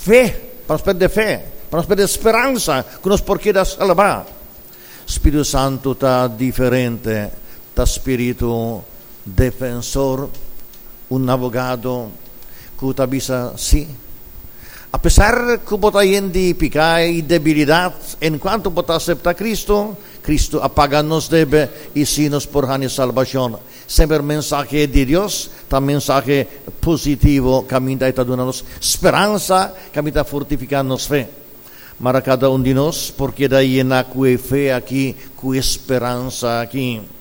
Fe, pa nos pèrdè fe, pa nos pèrdè speransa ku nos por keda salbá. Spiritu Santu ta diferente, ta spiritu defensor, un abogado ku ta bisa sí. Apesar ku bo ta yen di piká i debilidat, enkuanto bo ta aseptá Kristu, Kristu a paga nos debe i sí nos por haña salbashon. Semper mensahe di Dios ta mensahe positivo kaminda e ta duna nos speransa, kaminda ta fortifiká nos fe. Mara kada un di nos por keda yená ku e fe aki, ku e speransa aki.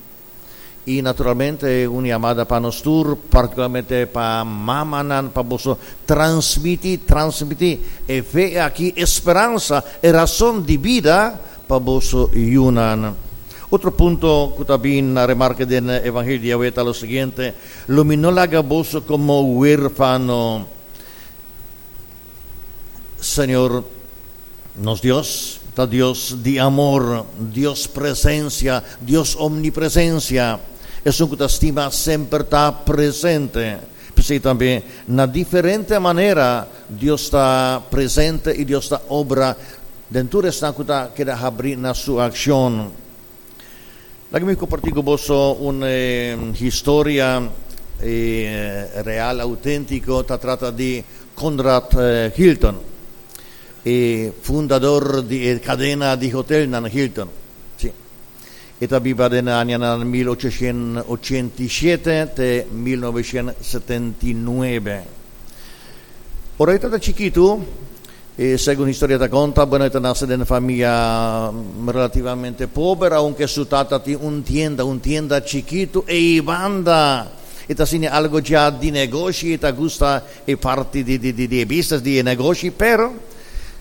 I naturalmente un yamada pa nos tur, partikularmente pa mamanan, pa boso transmití, transmití e fe aki, e speransa, e rason di bida pa boso yunan. Otro punto ku ta bin na remarke den Evangelio di awe ta lo siguiente, Lo mi no laga boso komo huérfano. Señor nos Dios ta Dios di amor, Dios presencia, Dios omnipresencia. Esun ku ta stima semper ta presente. P'esei tambe na diferente manera Dios ta presente i Dios ta obra den tur esnan ku ta keda habrí na su akshon. Laga mi kompartí ku boso un historia real, outéntiko. Ta trata di Conrad Hilton, e fundador di e kadena di hotelnan Hilton. Sí. E ta biba den e añanan 1887 te 1979. Ora e tabata chikitu, E segun historia ta konta, bueno e ta nase den famia relativamente pober, aunke su tata tin un tienda, un tienda chikitu ei banda. E ta siña algo dja di negoshi, e ta gusta e parti di di di e business, di e negoshi, pero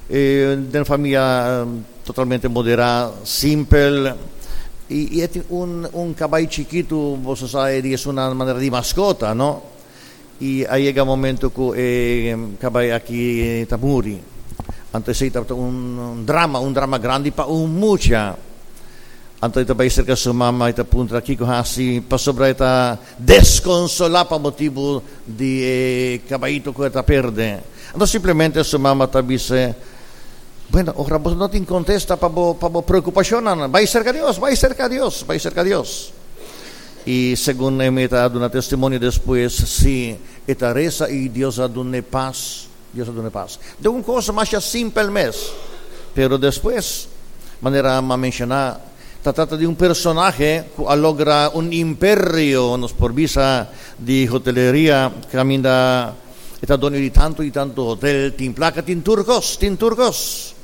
den famia totalmente moderá, simpel, i e tin un un kabai chikitu, boso sa e di esun manera di maskota, no? I a yega momento ku e kabai aki ta muri. Anto esei tabata un drama, un drama grandi pa un mucha. Anto e ta bai serka su mama i ta puntra kiko hasi pasobra e ta deskonsolá pa motibu di e kabaito ku e ta perde. Anto simplemente su mama ta bis'é, Bueno, ora bo no tin kontesta pa bo pa bo preokupashonnan, bai serka Dios, bai serka Dios, bai serka Dios. I segun e mi ta duna testimonio despues, si e ta resa i Dios a dun'e pas, Dios a dun'e pas. Den un kos masha simpel mes, pero despues, manera m'a menshoná, ta trata di un personahe ku a logra un imperio, nos por bisa, di hoteleria, kaminda e ta doño di tantu i tantu hotel, tin plaka, tin tur kos, tin tur kos.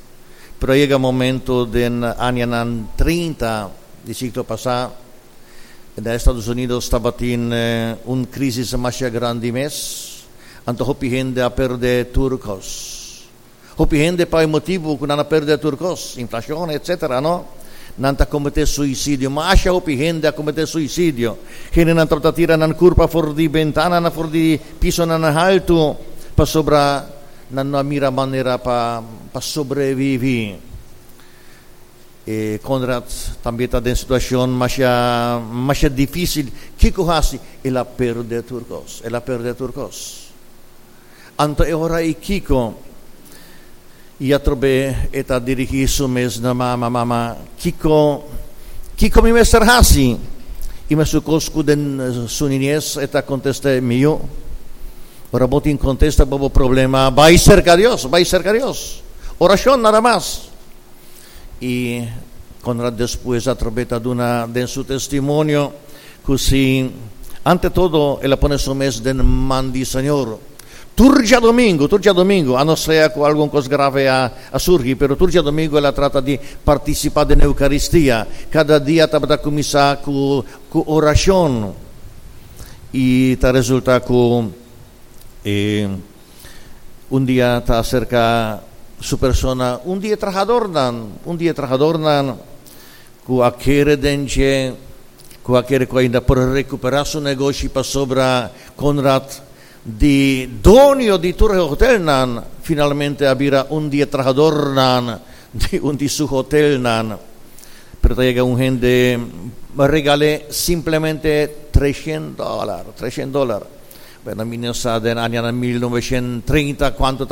Pero a yega momento den añanan 30 di siglo pasá, Na Estados Unidos tabatin un crisis masha grandi mes, anto hopi hende a perde tur cos. Hopi hende pa e motibu cu nan a perde tur cos, inflacion etc. No? Nan ta comete suicidio. Masha hopi hende a comete suicidio. Hendenan tabata tira nan curpa for di bentananan, for di pisonan haltu, pasobra nan no a mira manera pa pa sobrevivi. E Conrad tambe ta den situacion masha masha dificil. Kico haci? El a perde tur cos. El a perde tur cos. Anto e ora ei kico? I atrobe e ta dirigi su mes na mama, Mama, kico kico mi mester haci? I mesun cos cu den su niñez e ta contest'é, Mi yu, ora bo tin contesta pa bo problema, bai cerca Dios, bai cerca Dios. Oracion nada mas. I Conrad despues atrobe ta duna den su testimonio ku si ante todo el a pone su mes den man di Señor. Tur djadomingu, tur djadomingu, a no sea ku algun kos grave a a surgi, pero tur djadomingu el a trata di partisipá den Eukaristia. Kada dia tabata kuminsá ku ku orashon. I ta resulta ku e. Un dia ta aserka su persona un di e trahadornan, un di e trahadornan ku a kere den dje, ku a kere ku ainda por rekuperá su negoshi pasobra Conrad di doño di tur e hotelnan finalmente a bira un di e trahadornan di un di su hotelnan. Pero ta yega un hende regal'é simplemente 300 dòlar, 300 dòlar. Bueno, mi no sa den añanan 1930 kuantu ta.